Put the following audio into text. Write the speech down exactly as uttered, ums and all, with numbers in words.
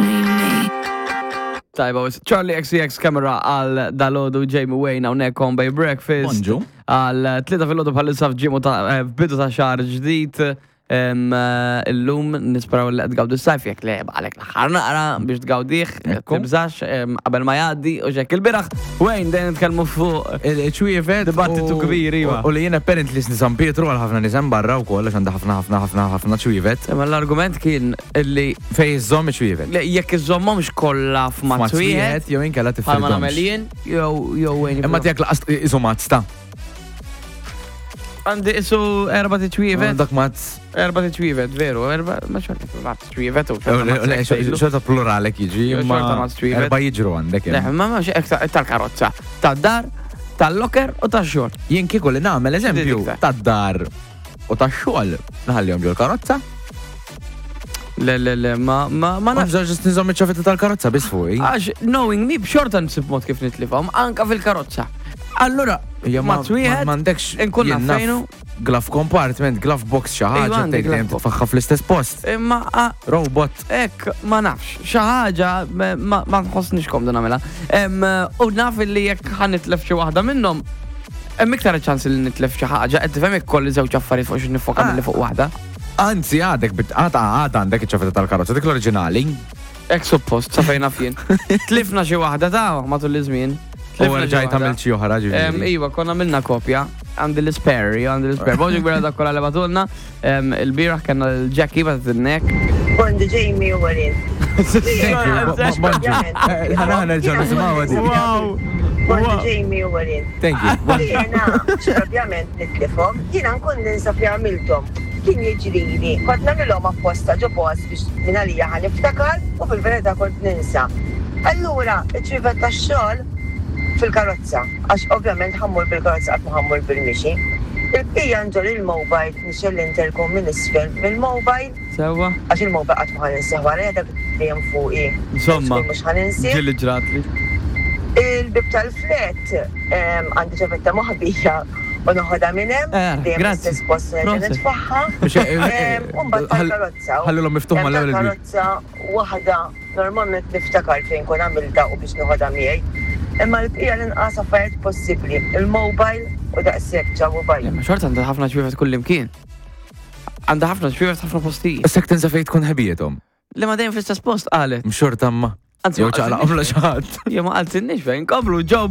Actually me. Tajba, Charli X C X Camera għal dalgħodu. Jamie Wayne hawnhekk on Bay Breakfast. Bonġu. Għal tlieta filgħodu bħalissa f'ġimu ta' eh, f'bidu ta' xahar ġdid. Em, eh, Illum nisperaw li qed tgawdu s-sajf, jekk le għalek l-aħħar naqra biex tgawdih, Ekku. tibżax em, qabel ma jgħaddi u xek. Il-bieraħ, Wayne, dejjem nitkellmu fuq Il-ċwievet. Dibattitu u- kbir, iva. U li jien apparently sni San Pietru għal ħafna nies hemm barra wkoll, għax għandha ħafna ħafna ħafna ħafna ċwievet. Imma l-argument kien illi Fej iżżomm iċ-ċwievet. Le, jekk iżommhomx kollha f'mazz wieħed, jew inkella bħalma tifridhomx. nagħmel jien, jew jew Wayne. Imma tiegħek laqas isu mazz ta' Għandi isu erba' tiċwievet. Dak mazz. Erba' tiċwievet, veru, erba', ma xorta ma tiċwievet u Le, le, xorta pluralek jiġi, Jew imma xorta mazz ċwievet. erba' jiġru għandek. Le, hemm. ma ma tal-karozza, tad-dar, tal-locker u tax-xogħol. Jien kieku li nagħmel eżempju iktar? tad-dar u tax-xogħol naħallihom ġol karozza. Le, le, le, ma ma ma Ma nafx. nafx, ġust nżomm iċ-ċavetta tal-karozza biss fuqi. Għax knowing me, b'xorta nsib mod kif nitlifhom, anka fil-karozza. Allura, Ja, ma mazz wieħed, m'għandekx inkun jien naf naf fejnu. Glove compartment, glove box, xi Iva, ħaġa għandi tgħid glove dejjem box. titfaħħa fl-istess post. Imma a- Robot. Ek, ma nafx, xi ħaġa ma ma nħossnix komdu nagħmilha. Em, U naf li jekk ħa nitlef xi waħda minnhom, hemm iktar ċans li nitlef xi ħaġa, qed tifhem, jekk kolli żewġ affarijiet fuq xi nifoka Ah. milli fuq waħda. Anzi, għadek bit għada għada għandek iċ-ċavetta tal-karozza, dik l-oriġinali. Ek suppost, sa fejn naf jien. Tlifna xi waħda ta' matul iż-żmien. U Tlifna xi rġajt waħda. għamilt xi oħra Em, ġifieri. Iva, konna għamilna kopja. Għandi l-spare, io għandi l-spare. Bonġu kbira dak kolla li bagħtulna. Em, Il-bieraħ kellna l-Jackie bagħtet in-nek. Bonġu Jamie u Marin. Thank you, bo- bo- bonġu. Eh, ħana ħana nerġgħu nisimgħu di. Wow! Bonġu Jamie u Marin. Thank you. Bonġu. Jiena, ovvjament nitlifhom, jiena nkun ninsa fi għamilthom. Kien jiġrili, kont nagħmilhom apposta ġo post biex minn għalija ħa niftakar u fil-verità kont ninsa. Allura, iċ-ċwievet tax-xogħol fil-karozza, għax ovvjament ħa mmur bil-karozza, qatt ma ħa mmur bil-mixi. Il-bqija nġorr il-mobile, nixgħel l-intercom minn isfel mill-mobile, Sewwa? għax il-mobile qatt ma ħa ninsih wara, dak dejjem fuqi. Insomma, Mhux ħa ninsih. Ġieli ġratli. Il-bib tal-flat em, għandi ċavetta moħbija u noħodha minn hemm, Eh, dejjem grazzi. l-istess post nerġa' Prosit. nitfaħħa. Biex, eh, eh, Em, U mbagħad ħall- tal-karozza. ħallulhom miftuħ Em, mal-ewwel il-bib. Tal-karozza waħda normalment niftakar fejn kun għamilta u biex noħodha miegħi. Imma l-bqija l-inqas affarijiet possibbli, il-mobile u daqshekk. Ċaw u bye. Le, ma xorta għandha ħafna ċwievet kull imkien. Għandha ħafna ċwievet ħafna postijiet. Issa tinsa fejn tkun ħebietom. Le, ma dejjem fl-istess post qalet. Mxorta ma. Anzi, Jew ma ċaqlaqhom la xi ħadd. Jew ma qaltilniex fejn. Komplu, ġew.